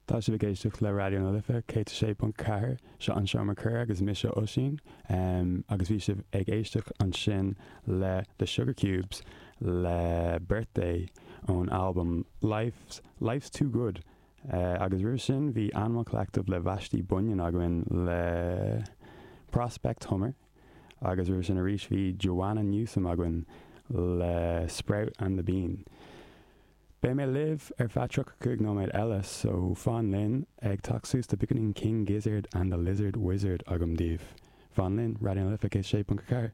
Tá sibh ag éisteacht le Raidió na Life 106.4, seo an Seomra Comhrá agus mise Oisín, agus bhí sibh ag éisteacht ansin le The Sugarcubes le Birthday ón albam Life's, Life's Too Good agus roimhe sin bhí Animal Collective le Vashti Bunyan againn le Prospect Hummer agus roimhe sin arís bhí Joanna Newsom againn le Sprout and the Bean. Beidh mé libh ar feadh 35 nóiméad eile so fan linn, ag teacht suas tá beagáinín King Gizzard and the Lizard Wizard agam daoibh. Fan linn, Raidió na Life 106.4.